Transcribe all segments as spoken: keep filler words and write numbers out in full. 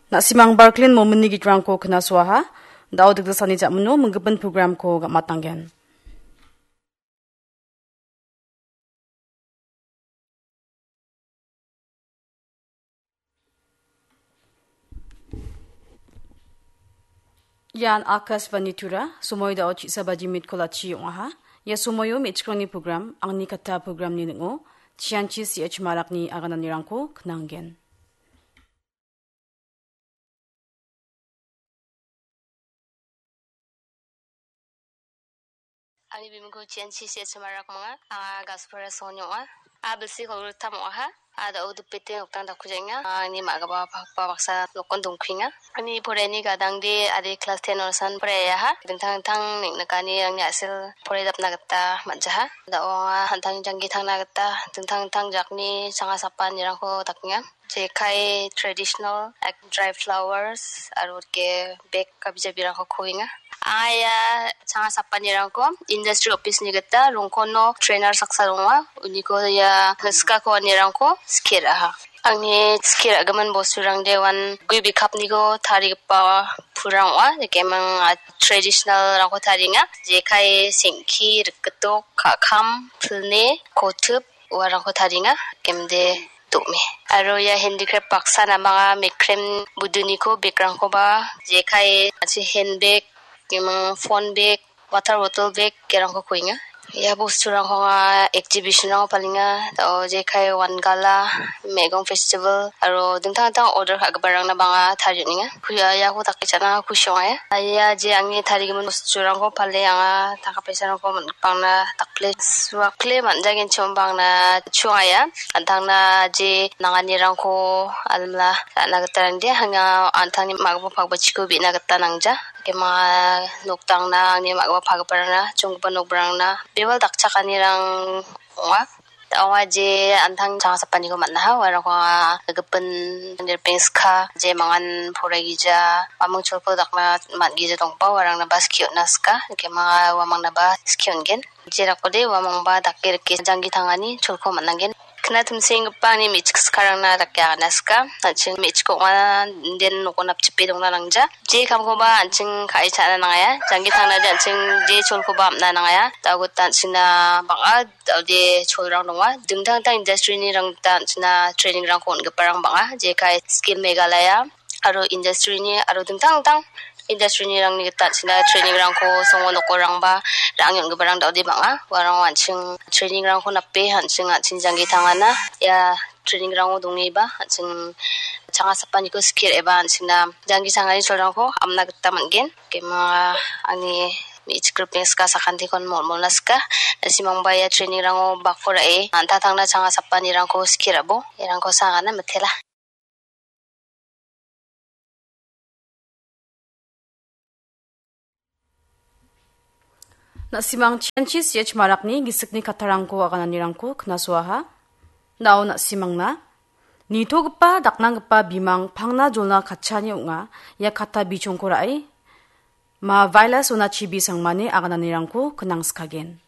Na·simang Barklin Mominni gitrangko knasoaha. Da·o dikdasani ja·mino minggipin programko gam·atanggen. Ian Akashvani Tura, somoi da·o chisa baji mitko lachi ong·aha. Ia somoio me·chikrangni program, angni katta programni ning·o, Chianchi C H Marakni agananirangko knanggen. Ani bimingko Chianchi C H Marak manga, anga Gaspara Songni ong·a. A bilsi kolgrittam ong·aha. A da·o dipete noktang dakkujaenga. Ani ma·gipa pakpa baksa nokon dongkuenga. Ani poraiani gadangde ade klas ten onasan poraiaha. Dingtang dingtang neng·nikani angni a·sel poraidapna gita man·jaha. Da·o anga an·tangni janggi tangna gita dingtang dingtang jakni changa sapanirangko dakenga. Jekai traditional, like, dry flowers, aro ke bag kabi jabirangko kuenga. Anga ia changa sapanirangko industry office-ni gita rongkono trainer saksa donga. Uniko ia gisikko anirangko skie ra·aha. Angni skie ra·gimin bosturangde uan gue bikapniko tarigipa pulrang ong·a. Jekeming, ah, traditional-rangko tarienga. Jekai sengki, rikgitok, ka·kam, pilni, kotip, uarangko tarienga, gemde do·me. Aro ia handicraft baksa namanga mekrem buduniko bag-rangkoba, jekai, an·ching handbag, gemang phone bag, water bottle bag, gerangko kuenga. Ia bosturangko anga exhibition-rango palenga. Da·o jekai Wangala, Megong Festival, aro dingtang dingtang order ka·giparangna bang·a tarie on·enga. Kuya iako dake cha·na kusi ong·a. Ia je angni tarigimin bosturangko pale anga tangka paisarangko man-, bangna dakple suakle man·jagenchim bangna chuangaia. An·tangna je nanganirangko almila ra·na gita rangde anga an·tangni ma·gipa pakbachiko be·na gita nangja. Kema noktangna angni ma·gipa pagiparangna, chonggipa nokrangna bebal dakchakanirang ong·a. Ong·a je an·tang changa sapaniko man·aha, uarangko anga gipin nirpengska, je mangan poraigija, uamang cholko dakna man·gija dongba, uarangna ba skie on·na sika, kema uamangna ba skie on·gen. Jerakode uamangba dake rike janggi tangani cholko man·angen. Kna timsenggipa angni me·chik sikarangna dake agana sika. An·ching me·chik ong·a, den noko napchipe dongna nangja. Je kamkoba an·ching ka·e cha·na nangaia. Janggi tangnade an·ching je cholkoba am·na nangaia. Da·o gita an·chingna bang·a da·ode cholrang donga. Dingtang dingtang industry-nirang gita an·chingna training-rangko on·giparang bang·a. Jekai Skill Meghalaya aro industry-ni aro dingtang dingtang industry-nirangni gita an·chingna training-rangko songo nokorangba ra·e on·giparang da·ode bang·a. Uarang an·ching training-rangko nape an·ching, an·ching janggi tangana. Ia training-rango dongeba an·ching changa sapaniko skie ra·eba an·chingna janggi tangani cholrangko amna gita man·gen. Kema angni me·chik ripeng sika sakantikon mol·molna sika. Na·simangba ia training-rango bako ra·e an·tang tangna changa sapanirangko skie ra·bo. Iarangko sagana mitela. Na·simang Chianchi C H Marakni gisikni kattarangko agananirangko knasoaha. Na·o na·simangna nitogipa daknanggipa bimang pangna jolna katchani ong·a. Ia katta bichongko ra·e ma Vaila Sona Chibi Sangmani agananirangko knangskagen.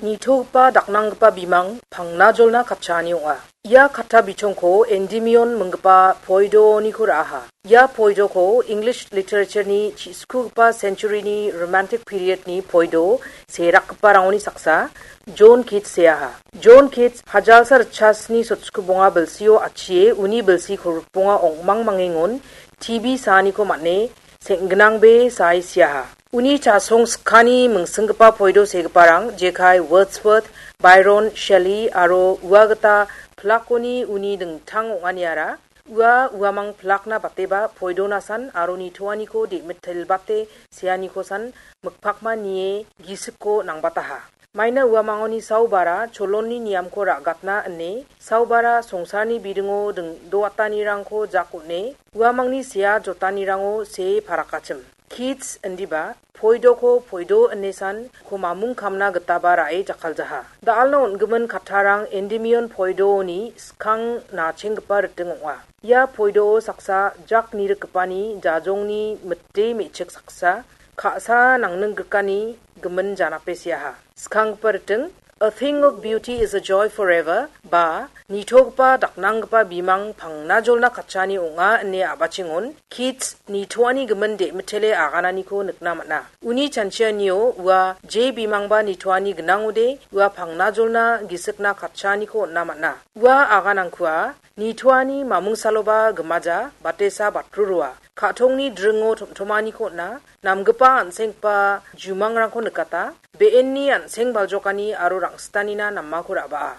Nitogipa daknanggipa bimang pangna jolna katchaani ong·a. Ia katta bichongko Endymion minggipa poidoniko ra·aha. Ia poidoko English literature-ni chi-, skugipa century-ni romantic period-ni poido serakgiparangoni saksa, John Keats seaha. John Keats hajalsa ritchasni sotskubonga bilsio achie uni bilsi kolgrikbonga ong·mangmangengon T B saaniko man·e seng·gnangbe sae seaha. Uni chasong skani mingsinggipa poido segiparang jekai Wordsworth, Byron, Shelley aro ua gita pilakoni uni dingtang ong·aniara ua uamang pilakna bateba poidonasan aro nitoaniko de·mitelbate seanikosan mikpakma nie gisikko nangbataha. Maina uamangoni saubara cholonni niamko ra·gatna ine saubara songsarni bidingo ding-, doatanirangko jak on·e uamangni sea jotanirango see parakachim. Keats indiba, poidoko poido inesan ko mamung kamna gitaba ra·e jakkaljaha. Da·alna on·gimin kattarang Endymion poidoni skang nachenggipa riting ong·a. Ia poidoo saksa jak nirikgipani jajongni mite me·chik saksa, ka·sa nangning grikani gimin janape seaha. Skanggipa riting, "A thing of beauty is a joy forever," ba nitogipa daknanggipa bimang pangnajolna katchani ong·a ine a·bachengon Keats nitoani gimin de·mitele agananiko nikna man·a. Uni chanchianio ua je bimangba nitoani gnangode ua pangnajolna gisikna katchaniko on·na man·a. Ua aganangkua nitoani mamungsaloba gimaja batesa batrurua. Ka·tongni dringo tomtomaniko on·a, namgipa an·senggipa jumangrangko nikata, be·enni an·seng baljokani aro rang·sitanina namako ra·baa.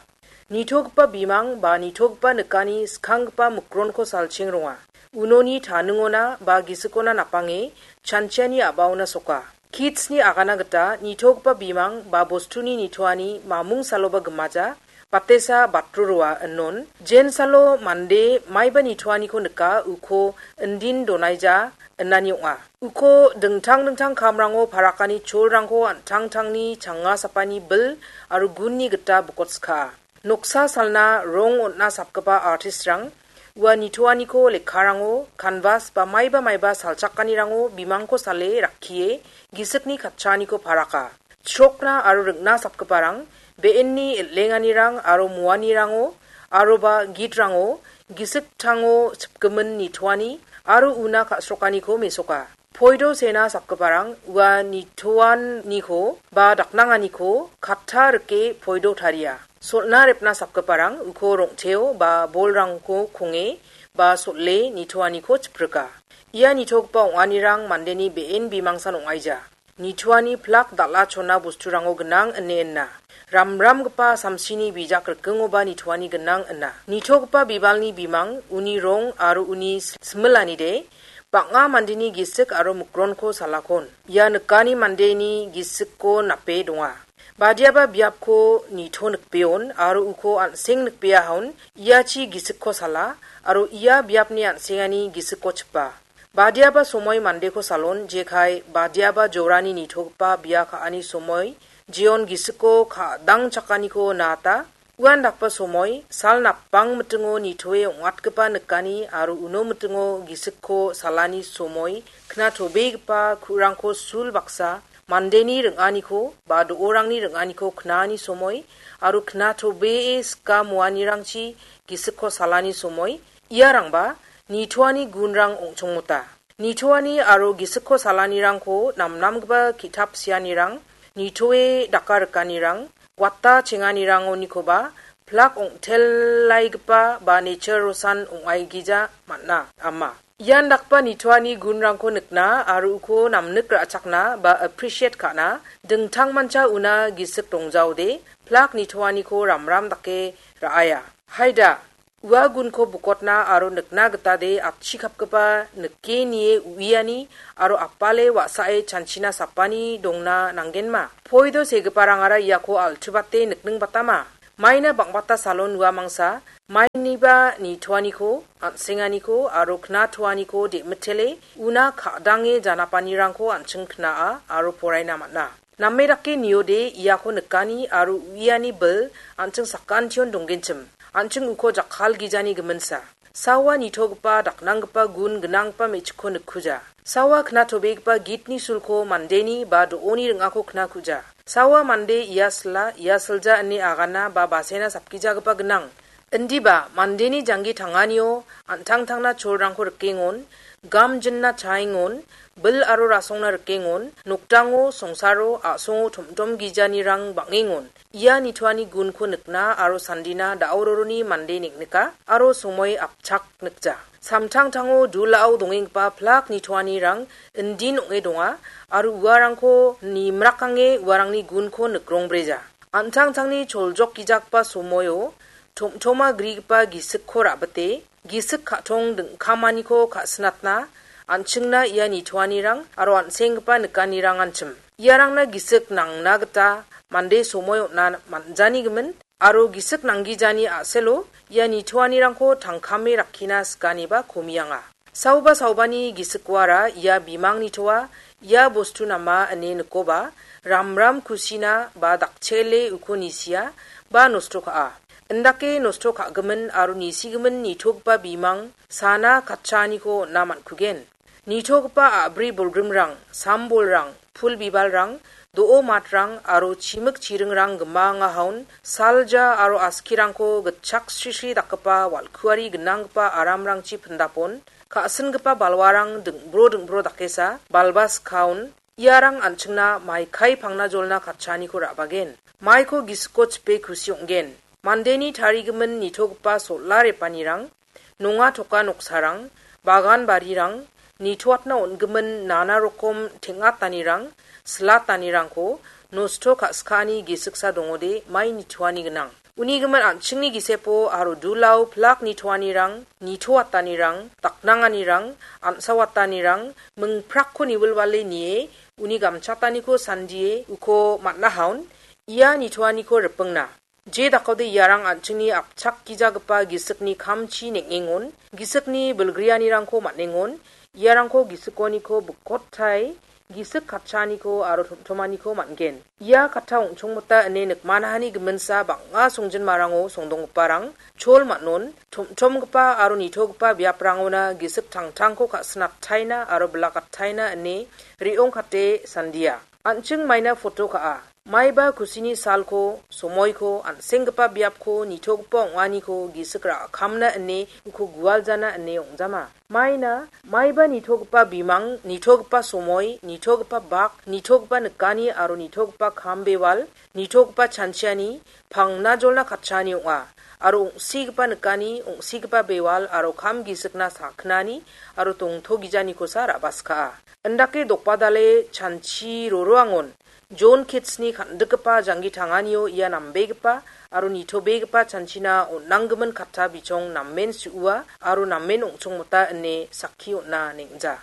Nitogipa bimang ba nitogipa nikani skanggipa mikronko salcheng ronga. Unoni taningona ba gisikona napange chanchiani a·baona soka. Keatsni agana gita nitogipa bimang ba bostuni nitoani mamung saloba gimaja, batesa batrurua inon, jensalo mande maiba nitoaniko nika uko indin donaija inani ong·a. Uko dingtang dingtang kamrango parakani cholrangko an·tangtangni changa sapani bil aro gunni gita bokotska. Noksa salna rong on·na sapgipa artistrang ua nitoaniko lekkarango, kanvas ba maiba maiba salchakanirango bimangko sale rakkie gisikni katchaniko paraka. Chrokna aro ring·na sapgiparang be·enni el·enganirang aro muanirango aroba gitrango gisik tango chipgimin nitoani aro una ka·srokaniko mesoka. Poido sena sapgiparang ua nitoaniko ba daknanganiko katta rike poido taria. Sol·na repna sapgiparang uko rong·teo ba bolrangko konge ba sol·e nitoaniko chiprika. Ia nitogipa ong·anirang mandeni be·en bimangsan ong·aija. Nitoani plak dal·a chona bosturango gnang ine ina. Ramramgipa samsini bijak rikingoba nitoani gnang ina. Nitogipa bibalni bimang, uni rong aro uni similanide bang·a mandeni gisik aro mikronko salakon. Ia nikani mandeni gisikko nape donga. Badiaba biapko nito nikbeon aro uko an·seng nikbeahaon, iachi gisikko sala aro ia biapni an·sengani gisikko chipa. Badiaba somoi mandeko salon, jekai badiaba jorani nitogipa bia ka·ani somoi, jeon gisiko ka·dangchakaniko nata, uandakba somoi, sal napang mitingo nitoe ong·atgipa nikani aro uno mitingo gisikko salani somoi, knatobegipa ku·rangko sul baksa, mandeni ring·aniko ba do·orangni ring·aniko knani somoi, aro knatobee sika muanirangchi gisikko salani somoi, iarangba nitoani gunrang ong·chongmota. Nitoani aro gisikko salanirangko namnamgipa ki·tap sianirang, nitoe daka rikanirang, wata chenganirangonikoba plak ong·telaigipa ba nature rosan ong·aigija man·a, ama. Ian dakgipa nitoani gunrangko nikna aro uko namnik ra·chakna ba appreciate ka·na dingtangmancha una gisik dongjaode plak nitoaniko ramram dake ra·aia. Haida, ua gunko bukotna aro nikna gitade atchikapgipa nike nie uiani aro apale wa·sae chanchina sapani dongna nanggenma. Poido segiparangara iako altuibate nikningbatama. Maina bang·bata salon ua mangsa, mainiba nitoaniko, an·senganiko aro knatoaniko de·mitele una ka·dange janapanirangko an·ching knaa aro poraina man·a. Name dake niode iako nikani aro uiani bil an·ching sakantion donggenchim. An·ching uko jakkalgijani giminsa. Sawa nitogipa daknanggipa gun gnanggipa me·chikko nikkuja. Sawa knatobegipa gitni sulko mandeni ba do·oni ring·ako knakuja. Sawa mande ia sila, ia silja ine agana ba basena sapgijagipa gnang. Indiba mandeni janggi tanganio an·tangtangna cholrangko rikengon, gamjinna chaengon, bil aro rasongna rikengon, nokdango, songsaro, a·songo tom·tom gijanirang bang·engon. Ia nitoani gunko nikna aro sandina da·ororoni mande neng·nika aro somoi apchak nikja. Samtangtango dulao dongenggipa plak nitoanirang indin ong·e donga aro uarangko nimrakange uarangni gunko nikrongbreja. An·tangtangni choljokgijakgipa somoio tom·toma grigipa gisikko ra·bite, gisik ka·tong dingkamaniko ka·sinatna an·chingna ia nitoanirang aro an·senggipa nikanirang anchim. Iarangna gisik nangna gita mande somoi on·na man·janigimin aro gisik nanggijani a·selo ia nitoanirangko tangkame rakkina sikaniba komianga. Saoba saobani gisikoara ia bimang nitoa, ia bostu nama ine nikoba, ramram kusina ba dakchele uko nisia ba nosto ka·a. Indake nosto ka·gimin aro nisigimin nitogipa bimang sana katchaaniko on·na man·kugen. Nitogipa a·bri bolgrimrang, sambolrang, pul bibalrang, do·o matrang aro chimik chiringrang gimangahaon salja aro askirangko gitchak srisri dakgipa wal·kuari gnanggipa aramrangchi pindapon, ka·singipa balwarang ding·bro ding·bro dakesa balba skaon, iarang an·chingna maikai pangna jolna katchaaniko ra·bagen. Maiko gisiko chipe kusi ong·gen. Mandeni tarigimin nitogipa sol·a repanirang, nonga toka noksarang, bagan barirang, nitoatna on·gimin nana rokom teng·atanirang, silatanirangko nosto ka·skaani gisiksa dongode mai nitoani gnang. Uni gimin an·chingni gisepo aro dulao pilak nitoanirang, nitoatanirang, daknanganirang, an·sawatanirang, mingprakko niwilwale nie, uni gamchataniko sandie, uko man·ahaon, ia nitoaniko ripingna. Je dakode iarang an·chingni apchakgijagipa gisikni kamchi neng·engon, gisikni bilgrianirangko man·engon, iarangko gisikoniko bikotai, gisik katchaaniko aro tomtomaniko man·gen. Ia katta ong·chongmota ine nikmanahani giminsa bang·a songjinmarango songdonggiparang chol man·on, tomtomgipa aro nitogipa biaprangona gisik tangtangko ka·sinataina aro bilakataina ine re·ongkate sandia. An·ching maina foto ka·a. Maiba kusini salko, somoiko, an·senggipa biapko, nitogipa ong·aniko gisik ra·kamna ine uko gualjana ine ong·jama. Maina, maiba nitogipa bimang, nitogipa somoi, nitogipa bak, nitogipa nikani aro nitogipa kam bewal, nitogipa chanchiani, pangna jolna katchaani ong·a. Aro ong·sigipa nikani, ong·sigipa bewal aro kam gisikna sakgnani aro tongtogijanikosa ra·baskaa. Indake dokbadale chanchi roroangon Jon Kitsni kan·dikgipa janggi tanganio ia nambegipa aro nitobegipa chanchina on·anggimin katta bichong namen su·ua aro namen ong·chongmota ine sakki on·a neng·ja.